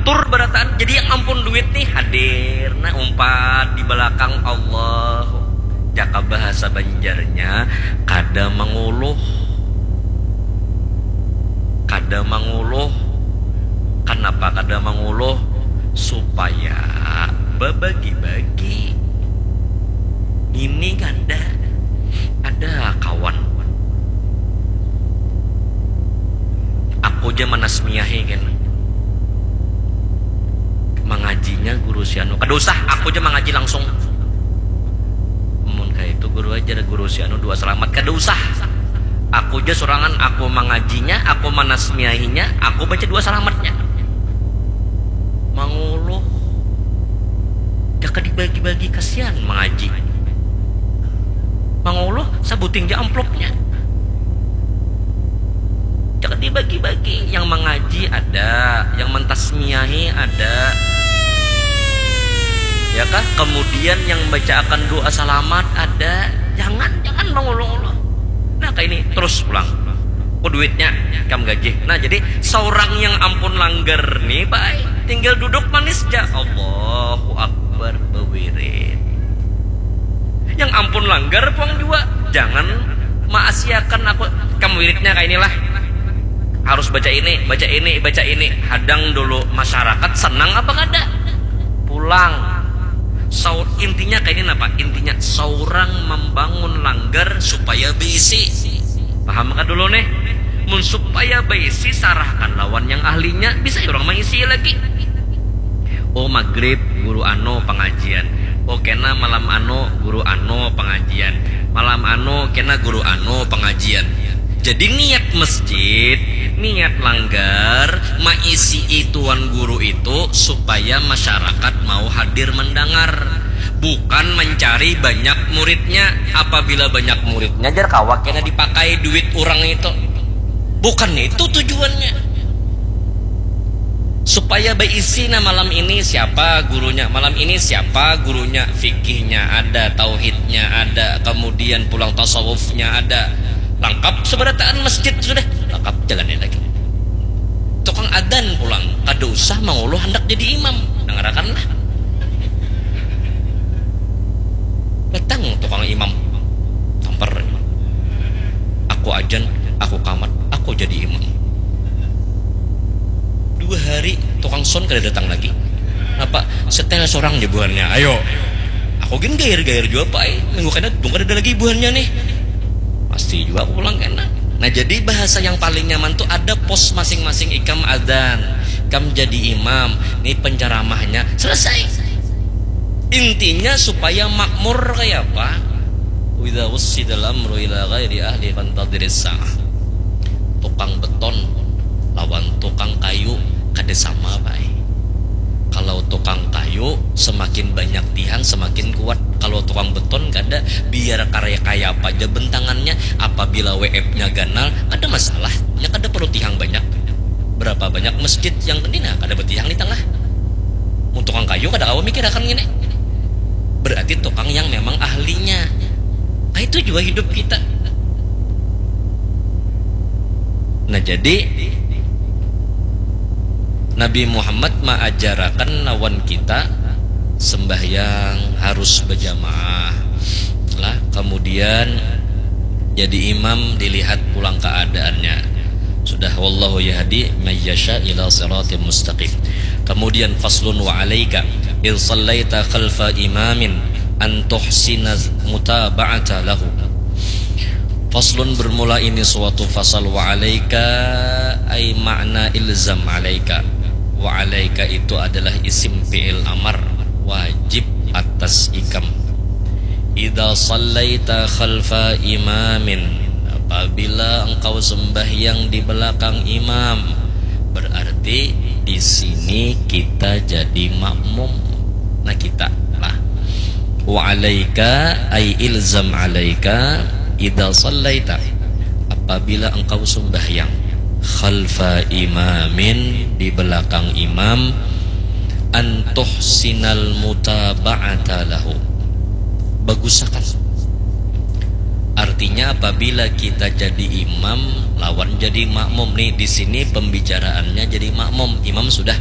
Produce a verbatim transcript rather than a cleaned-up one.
Tur barataan, jadi yang ampun duit nih hadir, nah umpat di belakang Allah. Jaka bahasa Banjarnya, kada manguluh. Kada manguluh. Kanapa kada manguluh? Supaya babagi-bagi. Ini kada ada kawan. Aku ja manasmiahi kena. Mangajinya guru si anu. Kada usah, aku ja mangaji langsung. Mun kaitu guru ajar guru si anu dua salamat. Kada usah. Aku ja sorangan, aku mangajinya, aku manasmiahinya, aku baca dua salamatnya. Manguluh. Jaka dibagi-bagi, kasian mangaji. Manguluh, sabuting ja amplopnya. Jaka dibagi-bagi, yang mangaji ada, yang mantasmiahi ada. Ya kah? Kemudian yang bacaakan doa salamat ada. Jangan, jangan manguluh-uluh. Nah, kayak ini terus pulang. Ku duitnya, kam gaji. Nah, jadi seorang yang ampun langgar nih, baik. Tinggal duduk manis ja. Allahu Akbar, bewirid. Yang ampun langgar puang jua. Jangan maasiakan aku. Kam wiridnya kayak inilah. Harus baca ini, baca ini, baca ini. Hadang dulu masyarakat senang apa kada? Pulang. Sau, intinya kayak ini apa? Intinya seorang membangun langgar supaya berisi. Paham kan dulu nih? Mun supaya berisi, sarahkan lawan yang ahlinya, bisa ya orang mengisi lagi. Oh, maghrib guru anu pengajian. Oh, kena malam anu guru anu pengajian. Malam anu kena guru anu pengajian. Jadi niat masjid, niat langgar, maisi tuan guru itu supaya masyarakat mau hadir mendengar. Bukan mencari banyak muridnya. Apabila banyak muridnya, jar kawa kena dipakai duit orang itu. Bukan itu tujuannya. Supaya berisi, nah, malam ini siapa gurunya, malam ini siapa gurunya, fikihnya ada, tauhidnya ada, kemudian pulang tasawufnya ada. Lengkap seberataan masjid sudah. Lengkap, jalannya lagi. Tukang adan pulang, kada usah manguluh hendak jadi imam. Dengarakanlah. Datang tukang imam. Tampar imam. Aku ajan, aku kamat, aku jadi imam. Dua hari tukang son kada datang lagi. Apa? Setel sorang jabuhannya. Ayo. Aku gin gair-gair jua, Pak, ai. Minggu kena dung kada ada lagi buhannya nih. Pasti jua aku pulang kena. Nah, jadi bahasa yang paling nyaman tuh ada pos masing-masing, ikam adan, ikam jadi imam, nih penceramahnya, selesai. Intinya supaya makmur kayak apa? Wa idza wussidal amru ila ghairi ahli fantadhiris sa'ah. Tukang beton lawan tukang kayu kada sama, Pak, ai. Kalau tukang kayu, semakin banyak tiang, semakin kuat. Kalau tukang beton kada, biar karya kaya apa aja bentangannya, apabila W F-nya ganal, kada masalah. Nya kada perlu tiang banyak. Berapa banyak masjid yang ini, nah, kada betiang di tengah. Mun tukang kayu kada kawa mikirakan ngini. Berarti tukang yang memang ahlinya. Nah, itu jua hidup kita. Nah, jadi Nabi Muhammad maajarakan lawan kita sembahyang harus berjamaah lah, kemudian jadi imam dilihat pulang keadaannya. Sudah, wallahu yahdi may yasha ila siratim mustaqim. Kemudian faslun wa alaika in sallaita khalfa imamin an tuhsina mutaba'ata lahu. Faslun bermula ini suatu fasal, wa alaika ay makna ilzam alaika. Wa alaika itu adalah isim fi'il amar, wajib atas ikam. Idza sallaita khalfa imamin, apabila engkau sembahyang di belakang imam, berarti di sini kita jadi makmum. Nah, kita lah. Wa alaika ay ilzam alaika idza sallaita, apabila engkau sembahyang khalfa imamin, di belakang imam, an tuhsinal mutaba'ata lahu, bagusakan. Artinya, apabila kita jadi imam lawan jadi makmum nih, di sini pembicaraannya jadi makmum, imam sudah.